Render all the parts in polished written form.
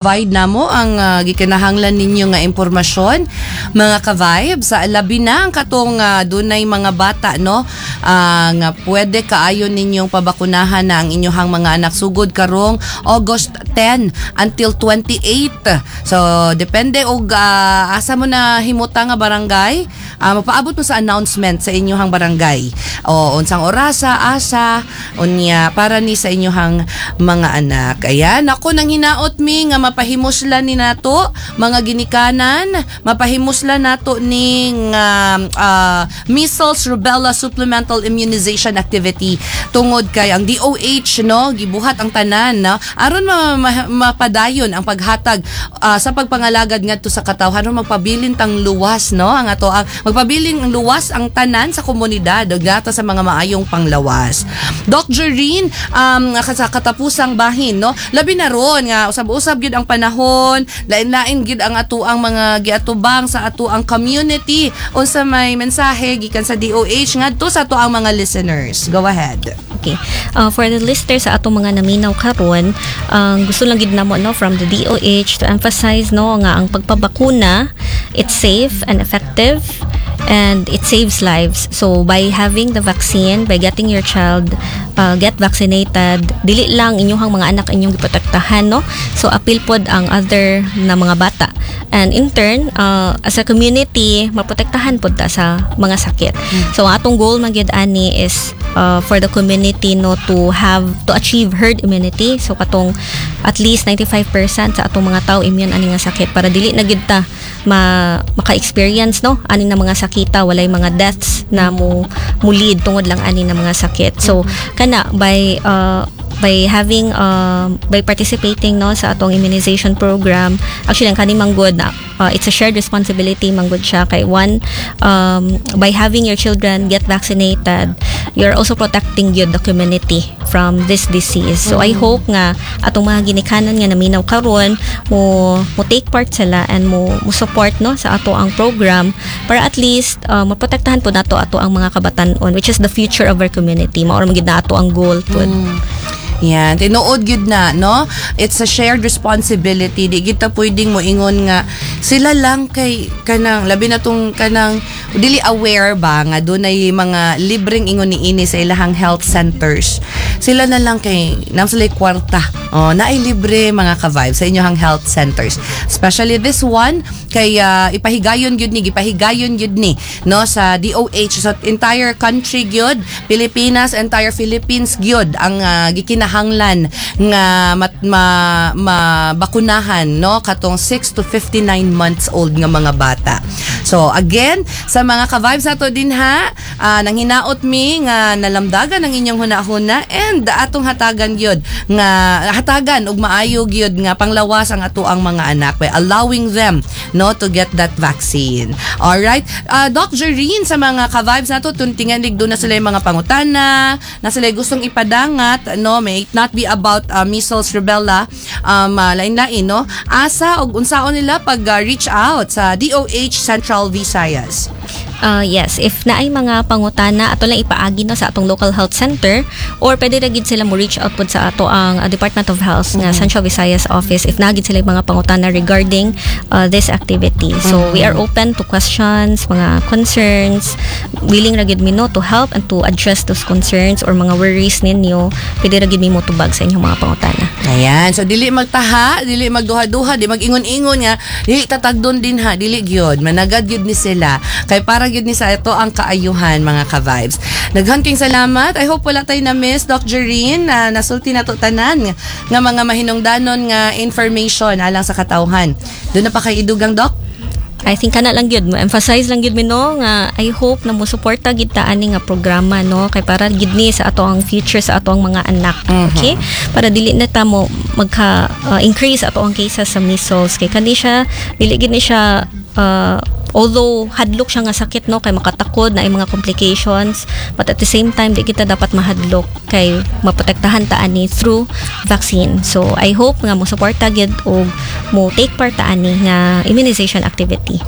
Provide namo ang gikinahanglan ninyo nga impormasyon, mga ka-vibes, sa labi na ang katong dunay mga bata, no, nga pwede kaayo ninyong pabakunahan na ang inyong mga anak sugod karong August 10 until 28. So depende og asa mo na himuta nga barangay, mapaabot mo sa announcement sa inyong barangay o unsang orasa, asa, unya para ni sa inyong mga anak. Ayan, ako nang hinaot mi nga mapahimuslan ni nato mga ginikanan, mapahimuslan nato ning measles rubella supplemental immunization activity tungod kay ang DOH, no, gibuhat ang tanan, no, aron mapadayon ang paghatag sa pagpangalagad ngadto sa katawhan, aron magpabilin tang luwas, no, ang ato ang magpabilin ang luwas ang tanan sa komunidad ug nato sa mga maayong panglawas. Doc Jereen, sa katapusang bahin, no, labi na ron nga usab-usab gyud ang panahon, lain-lain gyud ang atoang mga giatubang sa atoang community. Unsa may mensahe gikan sa DOH ngadto sa atoang mga listeners? Go ahead. Okay. For the listeners sa atong mga naminaw karon, ang gusto lang gid namo, no, from the DOH to emphasize, no, nga ang pagpabakuna, it's safe and effective and it saves lives. So by having the vaccine, by getting your child get vaccinated, dili lang inyong mga anak inyong giprotektahan, no? So apil pod ang other na mga bata. And in turn, as a community, maprotektahan pod ta sa mga sakit. So ang atong goal man gyud ani is for the community, no, to have to achieve herd immunity. So katong at least 95% sa atong mga tao immune ani nga sakit para dili na gid ta maka-experience, no, ani na mga sakita, walay mga deaths na mo lead tungod lang ani na mga sakit. So kana by having by participating, no, sa atong immunization program, actually ang kani manggod na it's a shared responsibility manggod siya kay one, by having your children get vaccinated, you're also protecting gyud the community from this disease. So I hope nga atong mga ginikanan nga naminaw karon mo take part sila and mo support, no, sa ato ang program para at least maprotektahan po nato ato ang mga kabatan-on, which is the future of our community. Mao ra man gid na ato ang goal pod. Yan, tinuod gyud na, no? It's a shared responsibility. Di kita pwedeng moingon nga sila lang kay kanang labi na tong kanang dili aware ba nga dunay mga libreng ingon ni ini sa ilahang health centers. Sila na lang kay naa sila kwarta. Oh, naay libre, mga ka-vibe, sa inyong health centers. Especially this one kay ipahigayon gyud ni, gipahigayon gyud ni, no, sa DOH sa entire country gyud, Pilipinas, entire Philippines gyud ang gikinahanglan nga mabakunahan, no, katong 6 to 59 months old nga mga bata. So again, sa mga ka-vibes nato din ha, nang hinaot mi nga nalamdagan ang inyong hunahuna and atong hatagan gyud nga hatagan og maayo gyud nga panglawas ang ato ang mga anak by allowing them, no, to get that vaccine. All right. Doc Jereen, sa mga ka-vibes nato tuntingan duna sila yung mga pangutana, na sila gustong ipadangat, no, may it not be about measles, rubella, lain-lain, no? Asa og unsaon nila pag reach out sa DOH Central Visayas? Yes, if naay mga pangutana, ato lang ipaagi, no, sa atong local health center or pwede ra gid sila mo reach out pod sa ato ang Department of Health nga Central Visayas office if naa gid sila mga pangutana regarding this activity. So we are open to questions, mga concerns. Willing ra gid mi, no, to help and to address those concerns or mga worries ninyo. Pwede ra gid mi mo tubag sa inyong mga pangutana. Ayan. So, dili magtaha, dili magduha-duha, di mag-ingon-ingon nga, dili tatagdon din ha, dili gyud. Managad gyud ni sila. Kay para gyud ni sa ito ang kaayuhan, mga ka-vibes. Daghan king salamat. I hope wala tayo na-miss, Doc Jereen, na nasulti na to tanan nga mga mahinungdanon nga information alang sa katawhan. Duna pa kay idugang, Doc? I think kana lang gyud, mo emphasize lang gyud mi, no, nga I hope na mo suporta gid ta ani nga programa, no, kay para gid ni sa ato ang future, sa ato ang mga anak, okay, para dili na ta mo magka increase ato ang cases sa measles kay kani siya dili gid ni siya, although hadlok siya nga sakit, no, kay makatakod na mga complications, but at the same time di kita dapat mahadlok kay maprotektahan ta ani through vaccine. So I hope nga mo suporta gid og mo take part ta ani nga immunization activity.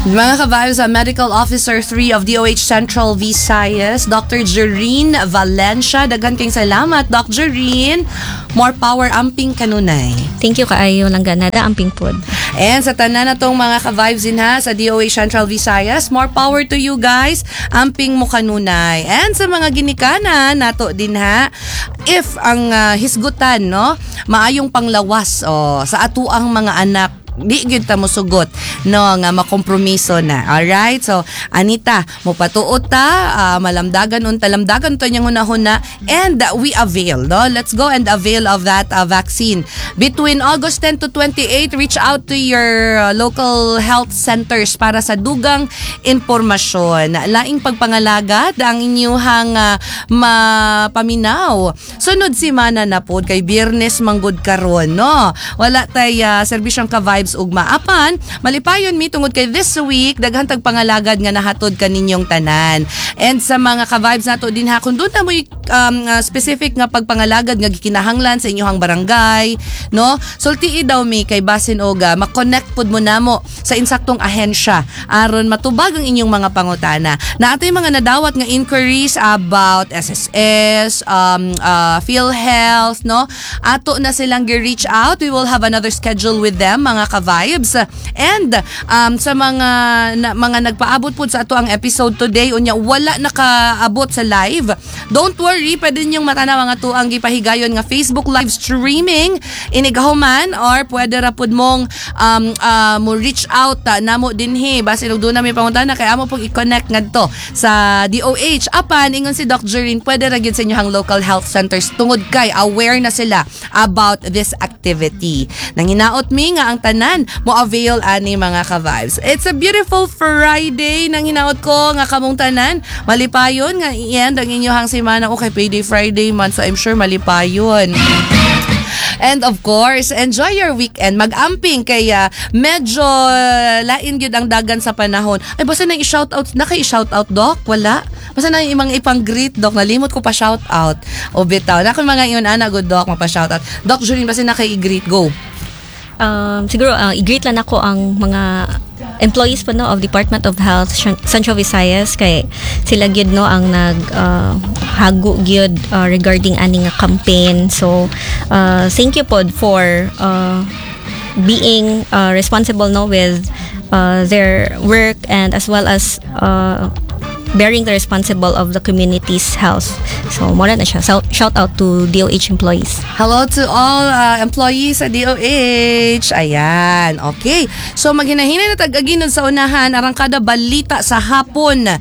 Mga ka-vibes, Medical Officer 3 of DOH Central Visayas, Dr. Jereen Valencia. Daghan kayong salamat, Dr. Jereen. More power, amping kanunay. Thank you kaayo, langga nada, amping pod. And sa tanan na tong mga ka-vibes din ha sa DOH Central Visayas, more power to you guys. Amping mo kanunay. And sa mga ginikanan nato din ha, if ang hisgutan, no, maayong panglawas, oh, sa atuang mga anak, di gyud ta mosugot, no, nga makompromiso na. Alright, so anita mo patuot ta, malamdagan unta, lamdagan to niyang hunahuna and we avail, no. Let's go and avail of that vaccine between August 10 to 28. Reach out to your local health centers para sa dugang impormasyon. Laing pagpangalagad ang inyuhang mapaminaw. Sunod semana na pod kay Biyernes manggod karon, no. Wala tay serbisyong ka-vibes ugma. Apan malipayon mi tungod kay this week daghan tag pangalagad nga nahatod kaninyong tanan. And sa mga ka-vibes nato din ha, kung doon na mo'y specific nga pagpangalagad nga gikinahanglan sa inyong barangay, no, sultii daw mi kay basin oga ma-connect pud mo namo sa insaktong ahensya aron matubag ang inyong mga pangutana. Na atoy mga nadawat nga inquiries about SSS, PhilHealth, no, ato na silang gi-reach out. We will have another schedule with them, mga ka-vibes. And sa mga na, mga nagpaabot po sa ato ang episode today, unya wala nakaabot sa live, don't worry, pwede ninyong matanaw ang ato ang gipahigayon nga Facebook live streaming inigahuman or pwede ra pud mong mo reach out namo dinhi basin og doon na may pangutana kay amo pong i-connect ngadto sa DOH. Apan ingon si Doc Jerin, pwede ra gyud sa inyong local health centers tungod kay aware na sila about this activity. Nanginaot mi nga ang tanan mo avail ani, mga ka-vibes. It's a beautiful Friday. Nang hinaot ko nga kamong tanan malipayon nga i-end ang inyong semana. Okay, payday Friday man, so I'm sure malipayon. And of course, enjoy your weekend. Mag-amping kay medyo lain gyud ang dagan sa panahon. Ay, basta nang i-shoutout, na kay i-shoutout, Doc? Wala? Basta na yung mga ipang-greet, Doc. Nalimot ko pa shoutout. O bitaw. Na mga iyon ana good, Doc, mapa-shoutout. Doc Julien, basta na kay i-greet. Go. Siguro i-greet lang ako ang mga employees po, no, of Department of Health Central Visayas kay sila gyud, no, ang nag hago gyud regarding ani nga campaign. So thank you pod for being responsible, no, with their work and as well as bearing the responsible of the community's health. So mao na siya. So, shout out to DOH employees. Hello to all employees sa DOH. Ayan, okay. So maghinahinay na tag-aginod sa unahan, arangkada balita sa hapon.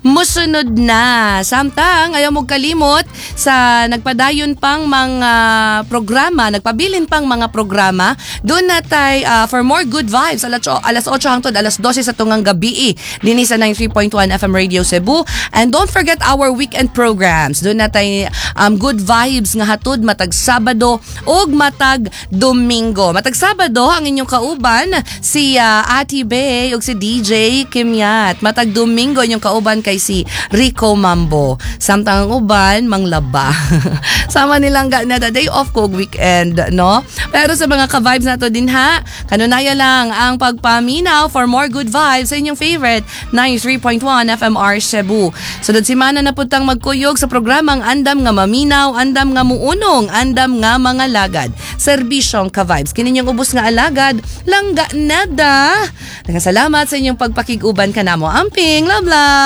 Musunod na. Samtang ayaw mo kalimot sa nagpadayon pang mga programa, nagpabilin pang mga programa, doon na tay for more good vibes alas 8 hangtod alas 12 sa tungang gabi dinhi sa 93.1 FM Radio Cebu. And don't forget our weekend programs. Doon na tay good vibes nga hatod matag Sabado ug matag Domingo. Matag Sabado ang inyong kauban si Ati Bay ug si DJ Kimyat. Matag Domingo inyong kauban kay si Rico Mambo. Samtang ang uban manglaba. Sama nilang ga na day off ko ug weekend, no? Pero sa mga ka-vibes nato din ha, kanunaya lang ang pagpaminaw for more good vibes sa inyong favorite 93.1 FMR Cebu. Sunod semana na putang magkuyog sa programang Andam nga Maminaw, Andam nga Muunong, Andam nga Mga Lagad. Serbisyong ka-vibes. Kini inyong ubos nga alagad, langga nada. Salamat sa inyong pagpakig-uban kanamo. Amping, love love!